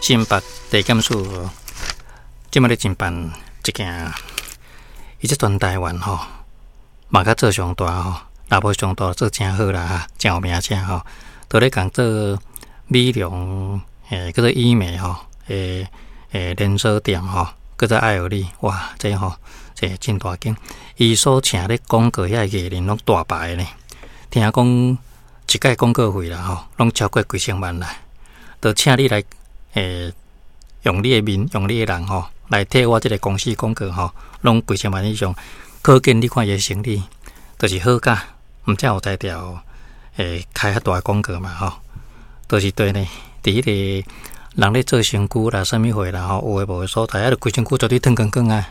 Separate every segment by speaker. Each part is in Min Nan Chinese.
Speaker 1: 新北地檢署這擺咧偵辦一件，伊這全台灣吼，嘛較做上大吼，若無上大做誠好啦哈，誠有名聲吼，都咧共做美容欸，叫做醫美吼，欸欸連鎖店吼，叫做愛爾利，哇，這吼這真大間，伊所請咧廣告遐個藝人攏大牌呢，聽講一擺廣告費啦吼，攏超過幾千萬啦，就請你來欸，用你的面，用你的人吼，來替我這个公司廣告吼，攏幾千萬以上，可見你看伊的生理，就是好甲，毋才有才調會開遐大廣告嘛吼，就是對呢，佇彼个人咧做身軀啦，啥物貨啦吼，有的無的所在，啊，就規身軀絕對脫光光啊！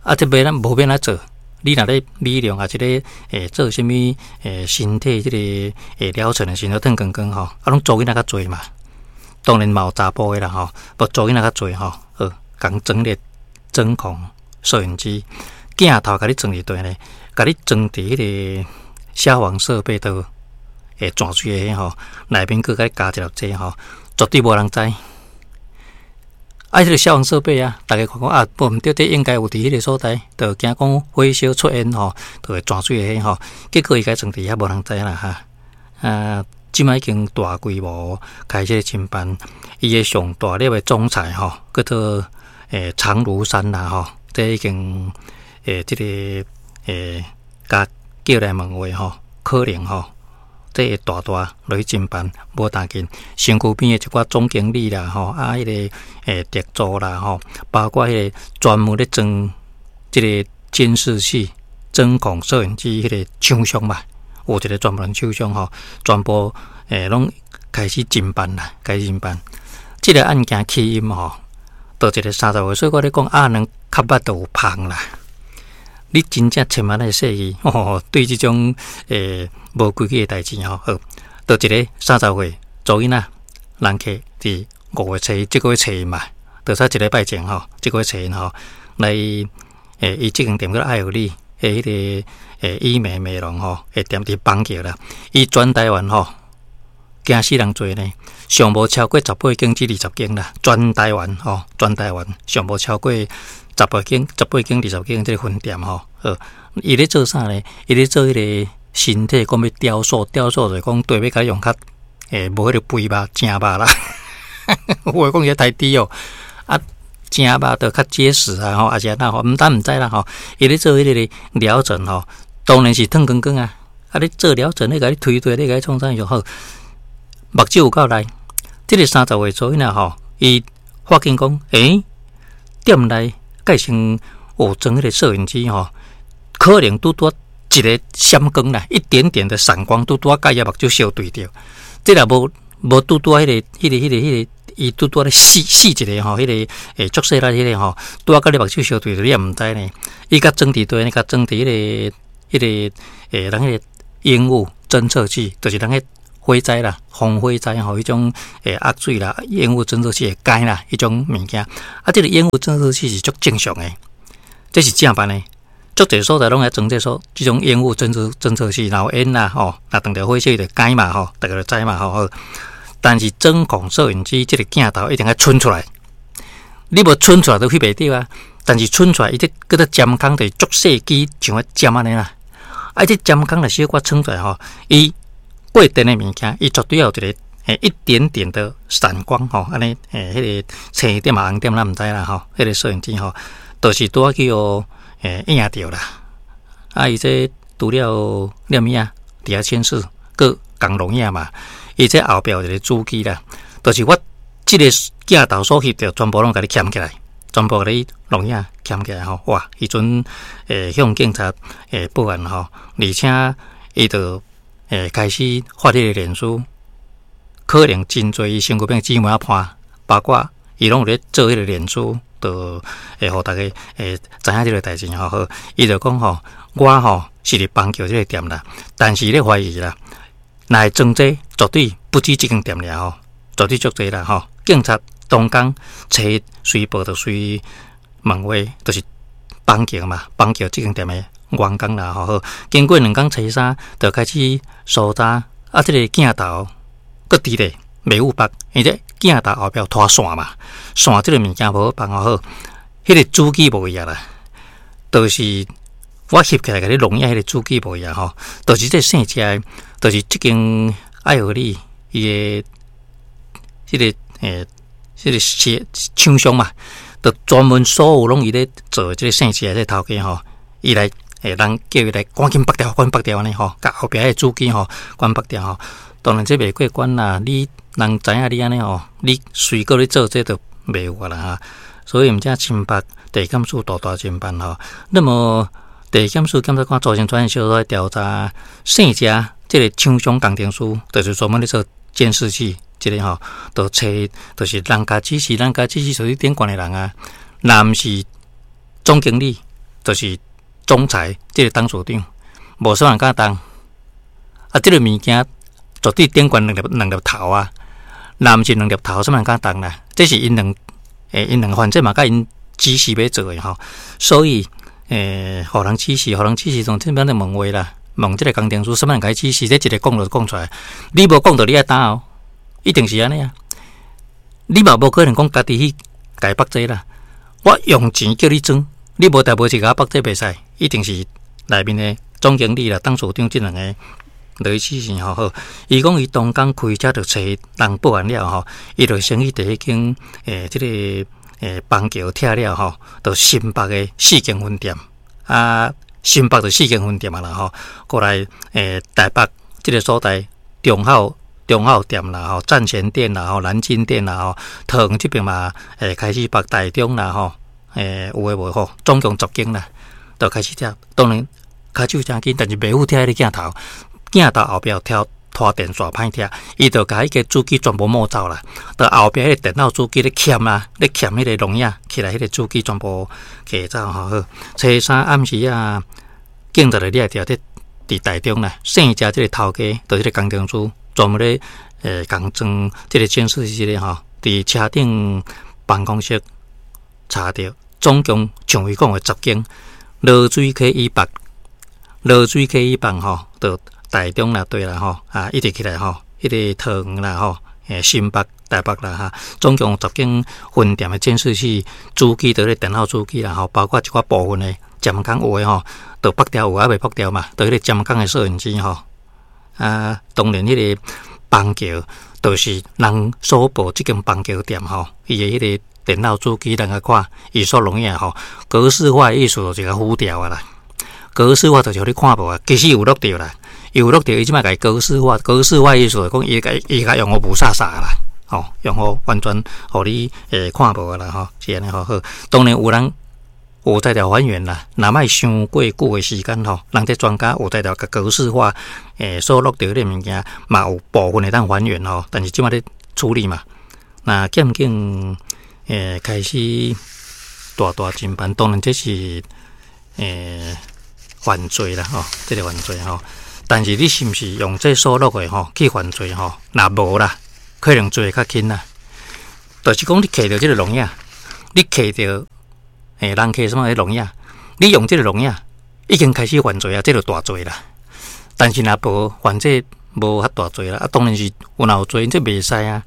Speaker 1: 啊，這欲咱無欲按怎做？你若咧美容，抑是咧欸做啥物欸身體這个欸療程的時陣，脫光光吼，啊，攏查某囡仔較濟嘛。當然嘛有查埔的啦吼，無查某囡仔較濟吼，好，共裝咧針孔攝影機鏡頭，共你裝佇佗呢？共你裝佇彼个消防設備都會轉水的吼，內面閣共你加一粒這吼，絕對無人知。啊，彼个消防設備啊，逐家看講啊，無毋對，這應該有佇彼个所在，就驚講火燒出煙吼，就會轉水的彼吼，結果伊共裝佇遐，無人知啦哈。啊，這擺已經大規模開始偵辦，伊的上大粒的總裁吼，叫做欸長如山啦吼，這已經欸這个欸共叫來問話吼，可能吼，這會大大落去偵辦，無單緊身軀邊的一寡總經理啦吼，啊，彼个欸特助啦吼，包括彼个專門咧裝這个監視器、針孔攝影機彼个廠商嘛。有一个專門廠商吼，全部欸攏開始偵辦啦，開始偵辦。這个案件起因吼，就一个30歲，所以我咧講鴨卵較捌就有芳啦。你真正千萬愛細意哦，對這種欸無規矩的代誌吼，好，就一个30歲查某囡仔人客佇5月初一，這個月初一嘛，就才一禮拜前吼，這個月初一吼，來欸伊這間店叫愛爾利的彼个欸醫美美容吼，的店佇板橋啦，伊全台灣吼，驚死人濟呢，上無超過18間至20間啦，全台灣吼，全台灣上無超過十八間、18間、20間這个分店吼。好，伊咧做啥呢？伊咧做彼个身體講欲雕塑，雕塑就是講對欲共用較欸無彼个肥肉正肉啦。有話講伊太低哦，啊正肉就較結實啊吼，抑是按怎吼，毋但毋知啦吼。伊咧做彼个療程吼，當然是脫光光啊！啊，你做療程，你共你推推，你共你創啥就好。目睭有夠利，這个30歲查某囡仔吼，伊發現講，欸，店內蓋先有裝彼个攝影機吼，可能拄拄一个閃光啦，一點點的閃光，拄拄共伊目睭相對著。這若無無拄拄彼个、彼个、彼个、彼个，伊拄拄咧試試一个吼，彼个欸足細力彼个吼，拄仔共你目睭相對著，你也毋知呢。伊共裝佇佗呢？共裝佇彼个、彼个欸，人彼个煙霧偵測器，就是人彼火災啦，防火災吼，彼種欸壓水啦，煙霧偵測器會改啦，彼種物件。啊，這个煙霧偵測器是足正常的，這是正版的。足濟所在攏愛裝這所這種煙霧偵測器，然後煙啦吼，若碰著火燒就改嘛吼，逐家就知嘛吼。好，但是針孔攝影機這个鏡頭一定愛伸出來，你無伸出來都翕袂著啊。但是伸出來，伊這叫做針孔，就是足細支，像彼針按呢啦。啊，這針孔若小可穿出來吼，伊過電的物件，伊絕對要有一个欸一點點的閃光吼，按呢欸，彼个青點啊紅點咱毋知啦吼，彼个攝影機吼，就是拄仔去予欸影著啦。啊，伊這除了錄影佇遐顯示，閣共錄影嘛。伊這後壁有一个主機啦，就是我這个鏡頭所翕著，全部攏共你撿起來，全部共你錄影撿起來吼。哇！彼陣欸向警察欸報案吼，而且伊就欸開始發彼个臉書，可能真濟伊身軀邊姊妹仔伴，包括伊攏有咧做彼个臉書，就會予逐家會知影這个代誌吼。好，伊就講吼，我吼是佇板橋這个店啦，但是咧懷疑啦，若會裝這絕對不止這間店爾吼，絕對足濟啦吼。警察當工初一隨報就隨問話，就是板橋嘛，板橋這間店的員工啦吼。好，經過兩工初三，就開始搜查，啊，這个鏡頭閣佇咧。袂有縛，因為這鏡頭後壁有拖線嘛，線這个物件無好縛吼好，彼个主機無去啊啦，就是我翕起來共你錄影彼个主機無去啊吼，就是這姓謝的，就是這間愛荷里伊的這个這个廠廠商嘛，就專門所有攏伊咧做這个姓謝的這個頭家吼，伊來人叫伊來趕緊縛掉，趕緊縛掉按呢吼，共後壁彼个主機吼，趕縛掉吼。當然這袂過關啦，你人知影你按呢吼，你隨閣咧做這就袂有啊啦哈。所以毋才新北地檢署大大偵辦吼。那麼地檢署檢察官組成專案小組來調查姓謝這个廠商工程師，就是專門咧做監視器，這个吼，就揣就是人共指示，人共指示屬於頂懸的人啊，若毋是總經理，就是總裁，這个董事長，無啥人敢動。啊，這个物件絕對頂懸兩粒兩粒頭啊！若毋是兩粒頭，啥人敢動啦？這是𪜶兩𪜶兩個反正嘛，共𪜶指示欲做的吼，所以予人指示，予人指示，從這邊咧問話啦，問這个工程師，啥物人共伊指示？這一个講就講出來，你無講著你愛擔哦，一定是按呢啊！你嘛無可能講家己去共伊縛這啦，我用錢叫你裝，你無代無誌共我縛這袂使，一定是內面的總經理啦、董事長這兩个落去指示吼好。伊講伊當工開車就揣人報案了吼，伊就先去佇彼間這个邦橋拆了吼，到新北的四間分店啊，新北就四間分店啊啦吼，過來台北這个所在中孝中孝店啦吼，站前店啦吼，南京店啦吼，桃園這邊嘛開始縛台中啦吼，有的無吼，總共10間啦，就開始拆。當然跤手誠緊，但是袂赴拆彼个鏡頭，鏡頭後壁有拖電線歹拆，伊就共彼个主機全部摸走啦，就後壁彼个電腦主機咧鉗啊，咧鉗彼个錄影起來，彼个主機全部摕走吼好。初三暗時啊，警察就掠著佇佇台中啦，姓謝這个頭家，就這个工程師專門咧共裝這个監視器這个吼，佇車頂辦公室查著，總共像伊講的10間，濁水溪以北，濁水溪以北吼，就台中啦，對啦吼，啊，一直起來吼，彼个桃園啦吼，新北、台北啦哈，總共10間分店的監視器主機，佇咧電腦主機啦吼，包括一寡部分的監控有的吼，就縛掉有的猶未縛掉嘛，佇彼個監控的攝影機吼，啊，當然彼个邦橋就是人所報這間邦橋店吼，伊的彼个電腦主機，人共看伊所錄影吼，格式化的意思就是共糊掉啊啦，格式化就是予你看無啊，其實有錄著啦。有錄著，伊這擺共伊格式化，格式化意思就講伊共伊共用予霧煞煞啦，吼，用予完全予你看無啦，吼，是按呢吼好。當然有人有才調還原啦，若莫傷過久的時間吼，人這專家有才調共格式化，所錄著彼個物件嘛有部分會當還原吼，但是這擺咧處理嘛，那檢警開始大大偵辦，當然這是犯罪啦，吼，這個犯罪吼。但是你是毋是用這所錄的吼去犯罪吼？若無啦，可能罪會較輕啦。就是講你揢著這個錄影，你揢著人揢啥物錄影，你用這個錄影已經開始犯罪啊，這就大罪啦。但是若無犯罪，無遐大罪啦。啊，當然是有若有罪，這袂使啊。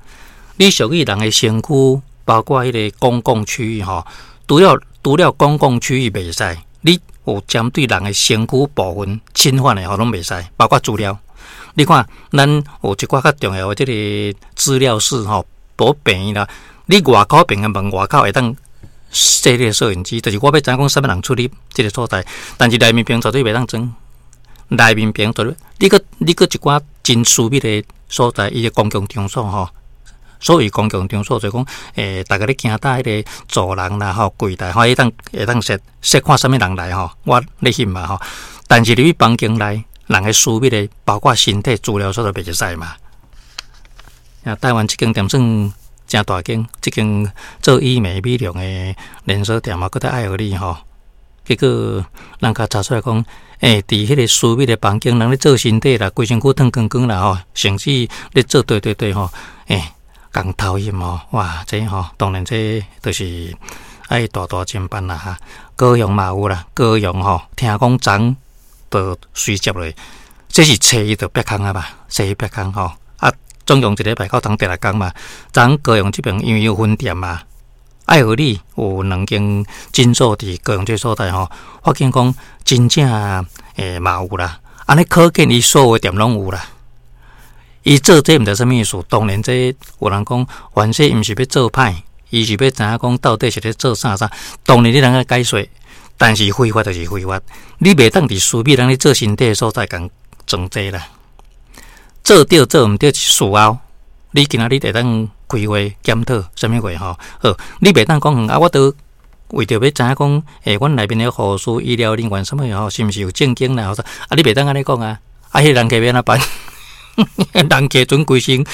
Speaker 1: 你屬於人的身軀，包括彼个公共區域吼，除了公共區域袂使，你有針對人的身軀部分侵犯的吼，攏袂使，包括資料。你看，咱有一寡較重要的這个資料室吼，無病院啦，你外口病院門外口會當設這个攝影機，就是我欲知影講啥物人出入這个所在，但是內面邊絕對袂當裝。內面邊絕對，你閣一寡真私密的所在，伊的公共場所吼。所謂公共場所，就講，逐家咧行到彼个走廊啦，吼，櫃台，吼，會當設設看啥物人來吼，我咧翕嘛吼。但是入去房間內，人的私密的，包括身體資料，所都袂使嘛。啊，台灣這間店算誠大間，這間做醫美美容的連鎖店嘛，閣佇愛荷里吼。結果人共查出來講，佇彼个私密的房間，人咧做身體啦，規身軀脫光光啦吼，甚至咧做對對對吼，共偷翕吼，哇！這吼，當然這就是愛大大偵辦啦哈。高雄嘛有啦，高雄吼，聽講昨就隨接落，這是初一就煏空啊吧，初一煏空吼，啊，總共一禮拜到冬第六工嘛。昨高雄這邊因為有分店嘛，愛和里有兩間診所佇高雄這所在吼，發現講真正嘛有啦。按呢可見伊所有店攏有啦。伊做這毋知啥物意思，當然這有人講，反正毋是欲做歹，伊是欲知影講到底是咧做啥啥。當然你通愛解說，但是非法就是非法，你袂當佇私密人咧做身體的所在共裝這啦。做對做毋對是事後，你今仔日會當開會檢討啥物話吼？好，你袂當講啊，我都為著欲知影講，阮內面的護士、醫療人員啥物吼，是毋是有正經啦？啊，你袂當按呢講啊！啊，彼個人客欲按怎辦？人客準規身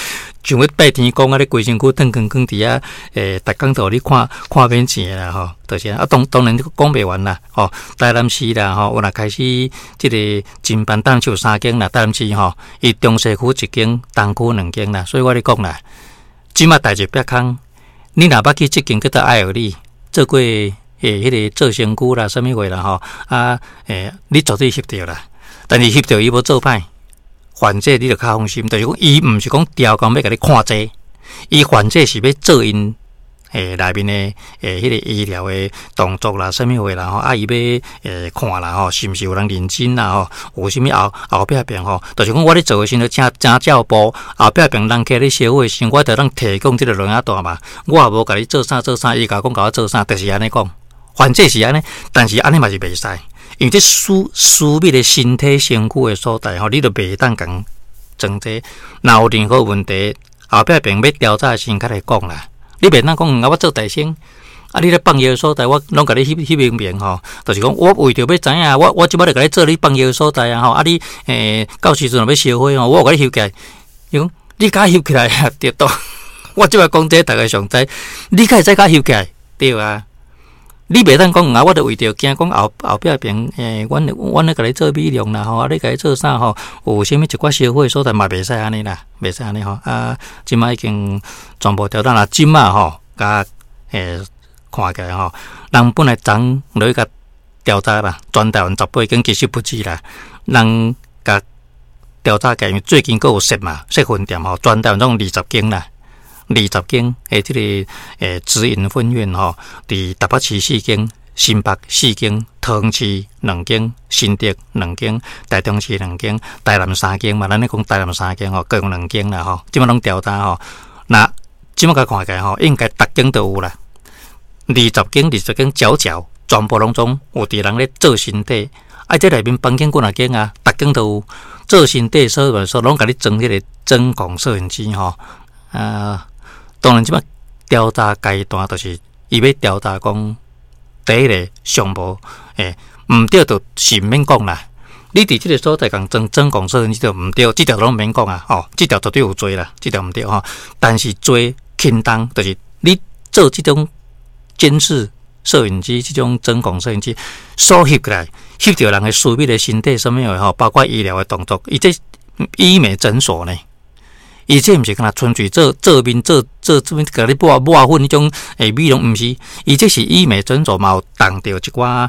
Speaker 1: 像欲拜天公按呢，規身軀褪光光佇遐，逐工都予你看看免錢啦吼，就是啊，當當然講袂完啦，吼，台南市啦吼，有若開始這個偵辦，台南市有三間啦，台南市吼，伊中西區一間，東區兩間啦，所以我咧講啦，這馬代誌煏空，你若捌去這間叫做愛和里做過彼個做身軀啦，啥物貨啦吼，啊，你絕對翕著啦，但是翕著伊無做歹。患者你就較放心，就是講伊毋是講刁工欲共你看這，伊患者是欲做𪜶內面的彼個醫療的動作啦，啥物貨啦吼，啊伊欲看啦吼，是毋是有人認真啦吼，有啥物後後壁邊吼，就是講我咧做的時陣正正照步，後壁邊人客咧燒火的時陣，我就通提供這個錄影帶嘛，我也無共你做啥做啥，伊共我講共我做啥，就是按呢講，患者是按呢，但是按呢嘛是袂使。因為這私私密的身體身軀的所在吼，你都袂當共裝這。若有任何問題，後壁邊欲調查的時陣，較來講啦。你袂當講啊，我做大聲，啊，你咧放藥的所在，我攏共你翕翕明明吼，就是講我為著欲知影，我我這擺就共你做你放藥的所在啊吼，啊你到時陣若欲燒火吼，我有共你翕起來。伊講你共翕起來啊，對都。我這擺講這逐家上知，你敢會使共翕起來？對啊。你袂當講啊，我著為著驚講後後壁邊，阮阮咧共你做美容啦吼，啊，你共你做啥吼？有啥物一寡燒火所在嘛，袂使按呢啦，袂使按呢吼。啊，這擺已經全部調整啦，這擺吼，共看起來吼，人本來昨落去共調查啦，全台灣18間其實不止啦，人共調查起來，因為最近閣有設嘛，設分店吼，全台灣總共20間啦。20間的這個直營分院吼，佇台北市四間、新北四間、桃園市兩間、新竹兩間、台中市兩間、台南三間嘛。咱咧講台南三間吼，高雄兩間啦吼，這擺攏調查吼。若這擺共看起來吼，應該逐間都有啦。二十間、二十間，佼佼，全部攏總有佇人咧做身體。啊，這內面房間幾若間啊，逐間都有做身體，所以說攏共你裝彼個針孔攝影機吼。啊，當然，這擺調查階段就是伊欲調查講，第一个上無毋對，就是毋免講啦。你佇這个所在共裝針孔攝影機就毋對，這條攏毋免講啊，吼，這條絕對有罪啦，這條毋對吼。但是罪輕重，就是你做這種監視攝影機、這種針孔攝影機所翕起來，翕著人的私密的身體啥物的吼，包括醫療的動作，伊這醫美診所呢？伊這毋是干焦純粹做做面做做這物共你抹抹粉彼種美容，毋是，伊這是醫美診所嘛，有動著一寡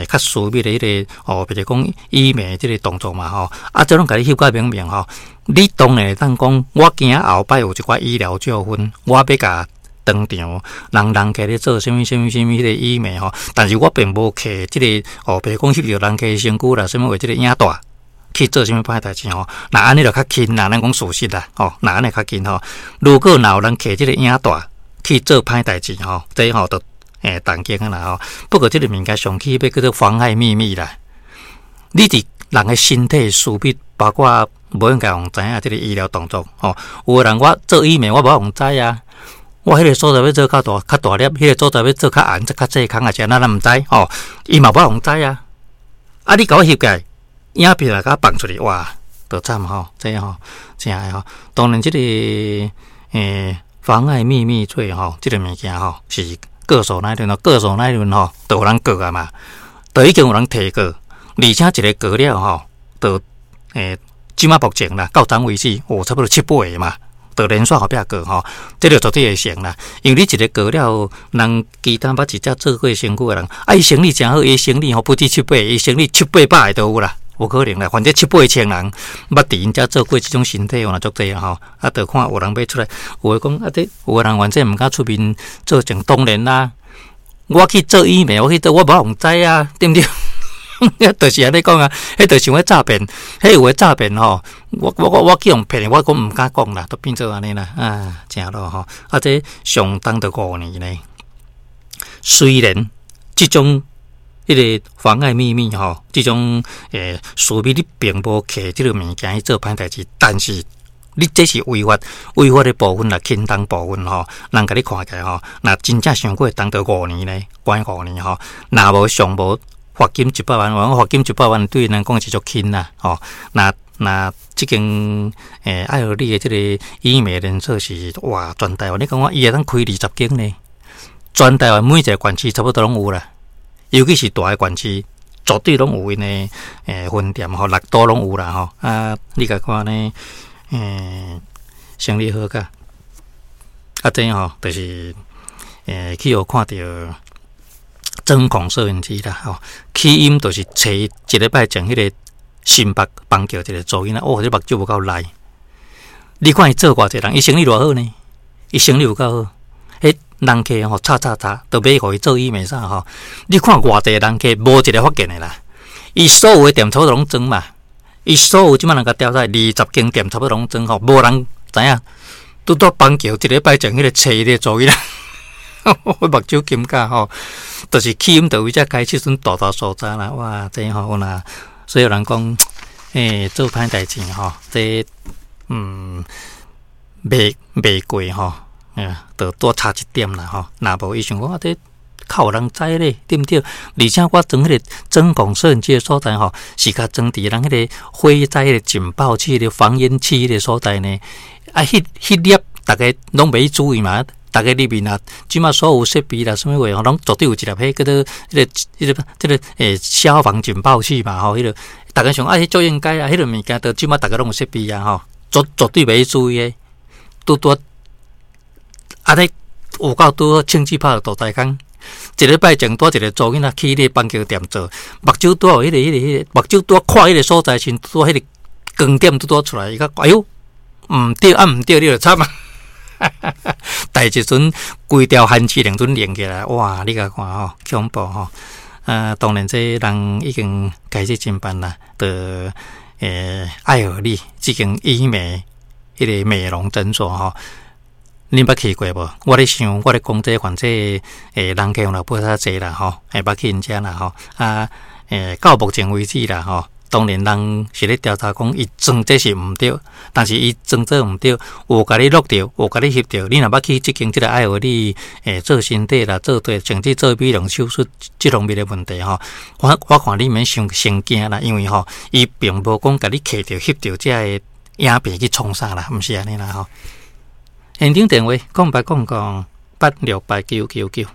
Speaker 1: 較私密的彼個哦，比如講醫美這個動作嘛吼，啊，這攏共你翕甲明明吼，你當然會當講，我驚後擺有一寡醫療糾紛，我欲共當場人人客咧做啥物啥物啥物彼個醫美吼，但是我並無摕這個哦，比如講翕著人客身軀啦，啥物話這個影帶。去做啥物歹代誌吼？若按呢就較輕啦，咱講事實啦，吼，若按呢較輕吼。如果若有人摕這個影帶去做歹代誌吼，這吼就動刑啊啦吼。不過這個物件上起碼叫做妨害秘密啦。你佇人的身體私密，包括無應該予人知影這個醫療動作吼。有的人我做醫美，我無愛予人知啊。我彼個所在欲做較大較大粒，彼個所在欲做較紅、較細空，抑是按怎咱毋知吼。伊嘛無愛予人知啊。啊，你共我翕起來，影片若共放出去，哇，就慘吼！這吼真的吼。當然，這個妨礙秘密罪吼，這個物件吼是告訴乃論咯，告訴乃論吼，就有人告啊嘛，就已經有人提告，而且一个告了吼，就這馬目前啦，到昨為止有差不多七八个嘛，就連續後壁告吼，這個絕對會成啦。因為你一个告了，人其他捌一隻做過身軀的人，啊，伊生理誠好，伊生理吼不止七八个，伊生理七八百个都有啦。無可能啦，反正七八千人捌佇𪜶遮做過這種身體，有若足濟吼。啊，就看有人欲出來，有的講啊，這有的人反正毋敢出面做證，當然啦。我去做醫美，我去做，我無予人知啊，對毋對？就是按呢講啊，彼就像咧詐騙，彼有的詐騙吼，我去予騙，我講毋敢講啦，都變做按呢啦，啊，誠囉吼，啊，這上重著五年呢。雖然這種彼個妨礙秘密吼，這種私密你並無摕這個物件去做歹代誌，但是你這是違法，違法的部分啦，輕重部分吼，人共你看起來吼，若真正傷過重著五年呢，關五年吼，若無上無罰金一百萬，我罰金一百萬對𪜶來講是足輕啦，吼。若若這間愛荷里的這個醫美連鎖是哇，全台灣你感覺伊會當開20間呢？全台灣每一個縣市差不多攏有啦，尤其是大的縣市，絕對攏有𪜶的分店吼，六都攏有啦吼。啊，你共看呢？生理好甲，啊，這吼就是去予看著針孔攝影機啦，吼，起因就是揣一禮拜前彼個新北板橋一個查某囡仔，哦，這目睭無夠利。你看伊做偌濟人，伊生意偌好呢？伊生意有夠好，彼人客吼，吵吵吵，都買予伊做醫美啥吼。你看偌濟人客，無一個發現的啦。伊所有的店差不多攏裝嘛，伊所有這擺人共調查，20間店差不多攏裝吼，無人知影。拄到板橋一禮拜前彼個揣伊個查某囡仔。我目睭金甲吼，就是起因就為這開始陣大大所在啦。哇，這吼有若，所以有人講，做歹代誌吼，這袂袂過吼，就多差一點啦吼。若無伊想講啊，這較有人知咧，對毋對？而且我裝彼個針孔攝影機的所在吼，是共裝佇人彼個火災彼個警報器、彼個防煙器彼個所在呢。啊，彼彼粒逐家攏袂注意嘛。逐家入面啊，這馬所有設備啦，啥物話吼，攏絕對有一粒彼叫做彼個、彼個、這個消防警報器嘛吼，彼個逐家想啊，彼足應該啊，彼個物件都這馬逐家攏有設備啊吼，絕絕對袂注意的，拄拄按呢有夠拄好槍支拍著大台空，一禮拜前拄一個查某囡仔去彼個板橋店做，目睭拄有彼個、彼個、彼個，目睭拄看彼個所在時，拄彼個光點拄拄出來，伊講哎喲，毋對啊，毋對，你就慘啊！代誌陣規條番薯連陣連起來，哇！你共看吼，恐怖吼！啊，當然這人已經開始偵辦啦，就愛荷里這間醫美彼個美容診所吼，恁捌去過無？我咧想，我咧講這反正人客若無較濟啦吼，會捌去𪜶遮啦吼，啊到目前為止啦吼。當然，人是咧調查講，伊裝這是毋對，但是伊裝做毋對，有共你錄著，有共你翕著。你若捌去這間這個愛荷里做身體啦，做對，甚至做美容手術這方面的問題吼，我看你免傷傷驚啦，因為吼，伊並無講共你揢著翕著這个影片去創啥啦，毋是按呢啦吼。現場電話：0800868999。